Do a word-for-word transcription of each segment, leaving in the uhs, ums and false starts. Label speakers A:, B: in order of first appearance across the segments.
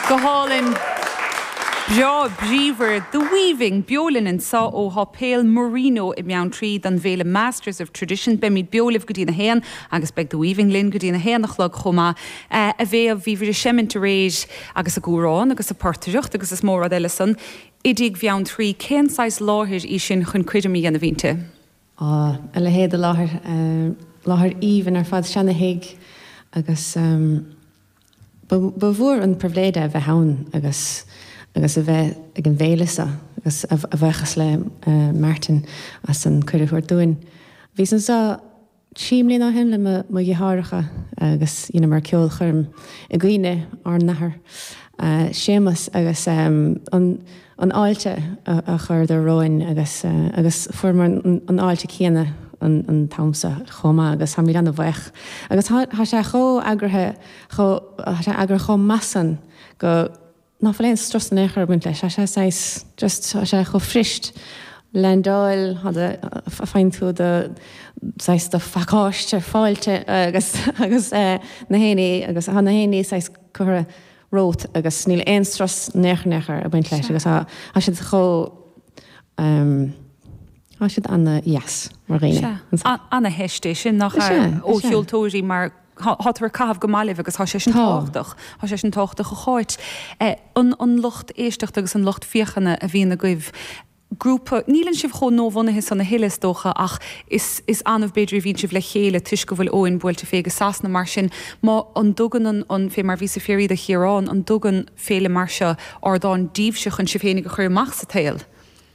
A: Go hálainn breá bríomhar The Weaving beo linn anseo ó Shéipéal Marino i mBeanntraí don bhféile Masters of Tradition beimid beo libh go dtí a haon agus beidh The Weaving linn go dtí a haon a chlog chomh maith a bhéh bhí bhí seimint aréir agus ag amhrán agus ag portaireacht agus is mór rud eile san. I dTigh Bheanntraí cén saghas láthair í sin chun coirm a dhéanamh inti.
B: Á a leithéid de láthair láthair aoibhinn ar fad seana-thigh agus um, ba mhór an pribhléid a bheith ann agus agus a bheith ag an bhféile seo agus a bhuíochas le uh, Martin as an cuireadh a thabhairt dúinn. Bhí anseo trí bliana ó shin le mo dheartháireacha agus you know, mar ceolchoirm i gcuimhne ár n-athair. Uh, Séamus agus um, an, an fháilte a, a chuireadar romhainn agus uh, agus fuaireamar an, an fháilte céanna an, an t-am seo chomh maith agus tá mé an-bhuíoch. Agus tá sé chomh heagraithe sé eagraithe chomh maith san go ná fuil aon strus in aon chor baint leis, sé sé just sé chomh fuirist landáil faigheann tú do do phacáiste fáilte agus agus uh, na héine agus tá na héine curtha romhat agus níl aon strus nechnecha a baint leis agus tá siad chomh um, Tá siad an-deas mar dhaoine.
A: An-cheist é sin nach ó cheoltóirí mar Tá caitheamh go maith libh agus tá sé sin tábhachtach Tá sé sin tábhachtach a cháit an an lucht éisteachta agus an lucht féachana a bhíonn agaibh. Grúpa nílann sibh chomh nuabhunaithe san a thuilleadh is dócha ach is is annamh b'fhéidir a bhíonn sibh le chéile toisc go bhfuil Eoin buailte fé go Sasana mar sin má an dtugann an an fé mar bhí sa féirí a Chiarán an dtugann féile mar seo ardán daoibhse chun sibh féinig a chur amach sa tsaol.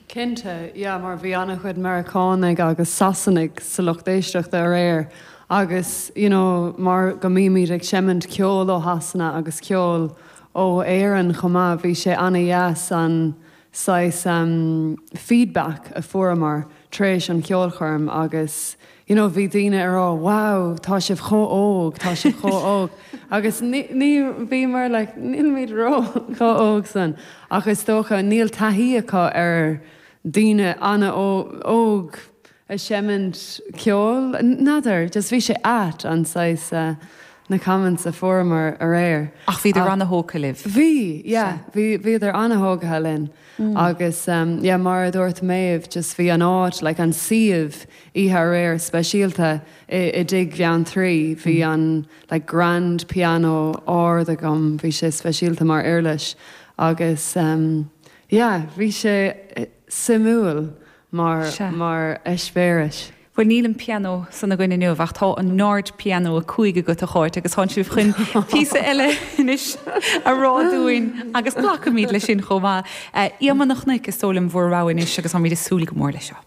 C: Cinnte, yeah, mar bhí an-chuid Meiriceánaigh agus Sasanaigh sa lucht éisteachta aréir agus you know, mar go mbímid ag seimint ceol ó Shasana agus ceol ó Éirinn chomh maith bhí sé an-deas an saghas um, feedback a fuaireamar tar éis an cheolchoirm agus you know, bhí daoine ag rá wow, tá sibh chomh hóg, tá sibh chomh hóg. agus ní bhí mar like, nílimid ró chomh hóg san ach is dócha níl taithí acu ar daoine an-óg ag seimint ceol n'fheadar, just bhí sé ait an saghas uh, na comments a fuaireamar aréir.
A: Ach bhíodar an-thógtha libh.
C: Bhí, yeah, bhí bhíodar an-thógtha linn. Mm. Agus um, yeah, mar a dúirt Méabh just bhí an áit like an suíomh oíche aréir speisialta i, i dTigh Bheanntraí, bhí mm. an like, grand piano ard agam, bhí sé speisialta mar uirlis agus um, yeah, bhí sé eh, suimiúil mar mar eispéireas.
A: Well níl an piano san againn inniu ach tá an Nord piano a cúig agat a Cháit agus tá sibh chun píosa eile anois a rá dúinn agus glacfaimid leis sin chomh maith. Iomann na chnoic is dóigh liom bhur rogha anois agus táimid ag súil go mór leis seo.